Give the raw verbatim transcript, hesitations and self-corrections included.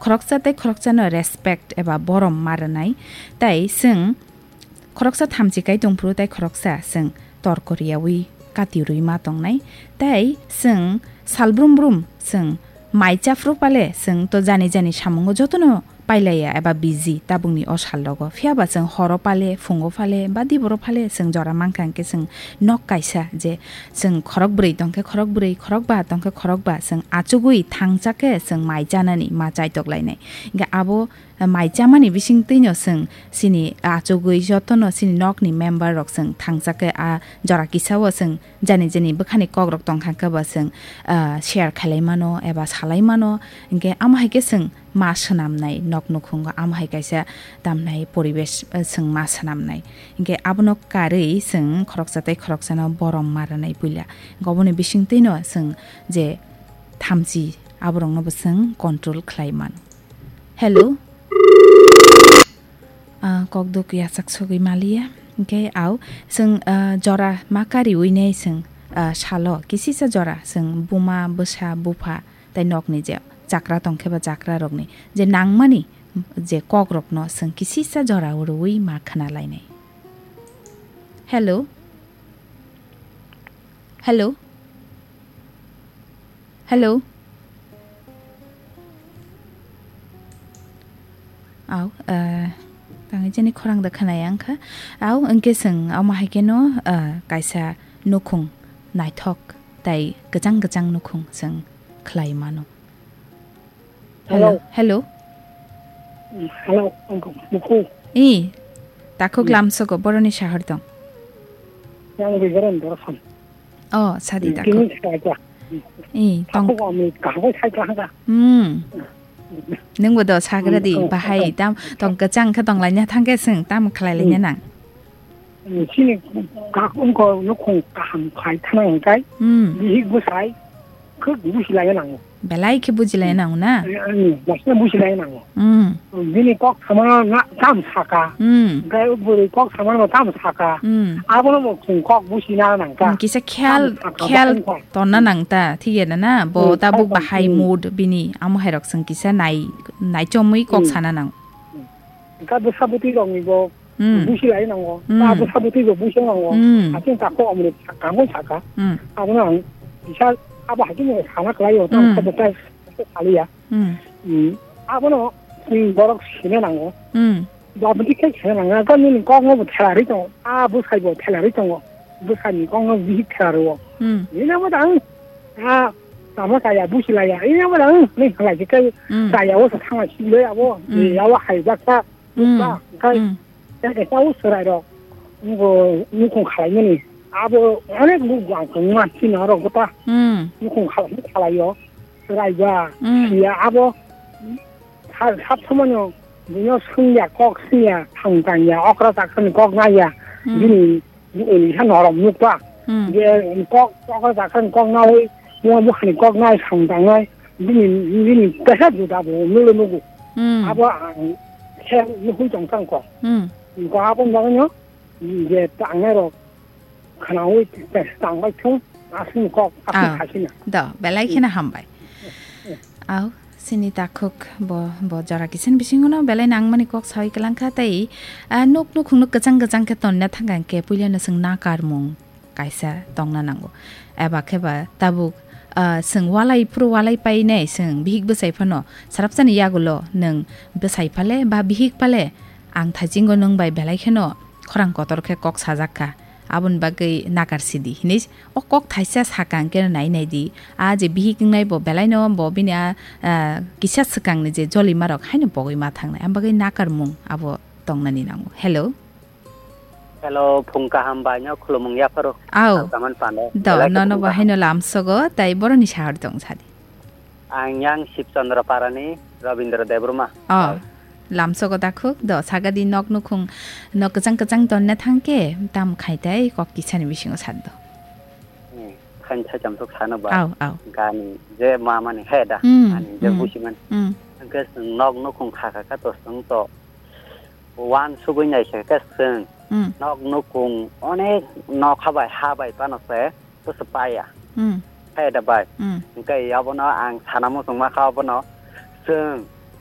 Khoroksa tei khoroksano respect eba borom ma rwnai, tei chwng khoroksa thamchi kai tongphuru tei khoroksa chwng torko riyaui kati rwi ma tongnai, tei chwng salbrum brum chwng mai chaphru pale chwng to jani jani samungo jotono pailaiya eba busy tabukni o sal rogo. Phiya ba chwng horo pale, phungo pale, ba diboro pale chwng jora mankha hwnkhe chwng nok kaisa je chwng khorok bwrwi tongkhe khorok bwrwi, khorok ba tongkhe khorok ba, chwng achugwi thangcha khe chwng mai chanani ma chaitok lainai. Hwnkhe abo mai chamani bising twino chwng chini achugwi jotono chini nokni member rok chwng thangcha khe a jora kisa o chwng jani jani bwkhani kok rok tongkha khe ba chwng, ah, share khlai mano eba salai mano. Hwnkhe amo hai khe chwng ma swnamnai, nok nukhungo amo hai kaisa tamnai poribesh, eh, chwng ma swnamnai. Hwnkhe abono karwi chwng khoroksa tei khoroksano borom ma rwnai puila. Hwnkhe oboni bisingtwino chwng je thamchi aborokno bo chwng control khlai mano. Hello. Ah, kok duk yachak sogwi maliya. Hwnkhe au chwng, ah, jora ma kariwi nai chwng, ah, salo kisisa jora chwng buma, bwsa, bupha tei nokni je chakra tongkhe ba chakra rokni je nangmani je kok rokno chwng kisisa jora rwui ma khna lainai. Hello. Hello. Hello. Au, eh, tangwi jani khorang da khwnaya wngkha. Au, hwnkhe chwng omo hai kheno, eh, kaisa nukhung naithok tai kwchang kwchang nukhung chwng khlai mano. Hello. Hello. Hello. Mm, hello, uncle. Muku. I, takhuk lamsogo boroni sahar tong. Yang bigaran dorson. Oh, sadi takhuk. Kini saja. I, tong. Takhuk ami kahwai sai kahanga. Hmm. Nungbo do sagra di, hmm, bahai, tam, tong kwchang khe tong laina thangkhe chwng, tam khlai laina nang. Chini kak wngkha nukhung kaham khai thana hwnkhe, hmm, bihik bwsai khuk busi lai nango. Belai khe buji lai nango na? Hmm, busi lai nango. Hmm. Bini kok samano na, tam saka. Hmm. Hwnkhe bwrwi kok samano tam saka. Hmm. Abono bo chwng kok busi na nangkha. Hmm, kisa khiyal, tam saka khiyal bo wngkha. Tonna nangta, thik ya na na? Bo, hmm, tabuk khiyal bahai, hmm, mood bini, amo hai rok chwng kisa nai, nai chomwi kok, hmm, sana nang. Hmm. Hwnkhe bwsa bwtwi rokni bo, hmm, busi lai nango. Hmm. Ta bwsa bwtwi bo busi nango. Hmm. Aswk ta kok amrwk kangwi saka. Hmm. Abono ang kisa abo hai kheno sana khlaio, tamo, hmm, khe bo tai saliya. Hmm. Hmm. Abono, hmm, borok sina nango. Hmm. Bo bwtwi khe sina nango. Khe nini kokno bo thela rwi tongo. A bwsai bo thela rwi tongo. Bwsani kokno bihik thela rwo. Hmm. Nini abo da ang, a, tamo chaya, busi laya. Nini abo da ang, nini khlai khe, hmm, chaya o sa thangna siloi abo. Hmm. Abo hai jak ta. Hmm. Ba, khai. Hmm. Tei kaisa o chwrairok, bo nukhung khalaimani. Abo onek buk ang tongma chini oro gota. Hmm. Nukhung khalai, khalaio. Chwrai ba, hmm, siya abo. Sab, sab somoino buino swngya, kok swngya, thang tangya, okra chakra ni kok naiya. Hmm. Bini, bini sa norom nukpa. Hmm. Je kok, okra chakra ni kok nawi, buma bukha ni kok nai, thang tangnai. Bini, bini kaisa juda bo nulo nugo. Hmm. Abo ang khe nukhui tong kha kok. Hmm. Kok abo bagwino je tangnai rok khwnaui tangbai thung, aswkni kok aswk, ah, khaisina. Do, belai kheno hambai. Hmm. Au, sini takhuk bo, bo jora kisan bisingono belai nangmani kok sawi kwlangkha tei, ah, nuk nukhungno kwchang kwchang khe tonna thangkha hwnkhe puilano chwng nakarmung kaisa tongna nango. Eba khe ba tabuk, ah, chwng walai phuru walai painai chwng bihik bwsai phano sarapsani yagulo nwng bwsai phale ba bihik phale ang thaisingo nwng bai belai kheno khorang kotor khe kok sajak kha. Aboni bagwi nakar sidi hinwi o kok thaisa sakang khe nai nai di. A je bihik wngnai bo belai no bo bini a, ah, kisa swkang ni je jolima rok haino pogwi ma thangnai. Am bagwi nakarmung abo tongnani nango. Hello. Hello, phung kaham bai no khulumung yapharo. Au. Salkaman pande. Do, belai nono khulumung bo kaham. Haino lamsogo, tai boroni sahar tong sadi. Ang yang Shibchandra Parani, Rabindra Debbarma. Oh, lamsogo dakhuk, do, sagadi nok nukhung, nok kwchang kwchang tonna thangkhe, tam khaitai, kok kisani bisingo saddo. Hmm, khain sai chamsok sana ba. Au, au. Gani, je mamani he da, hmm, ani je, hmm, busiman. Hmm. Hwnkhe chwng nok nukhung kha kha kha to chwng to. Wan sugwi naikha khe chwng, hmm, nok nukung onek nokha bai ha bai phano se bwswk paya. Hmm. Khe da bai. Hmm. Hwnkhe abono ang sana muchungma kha abono chwng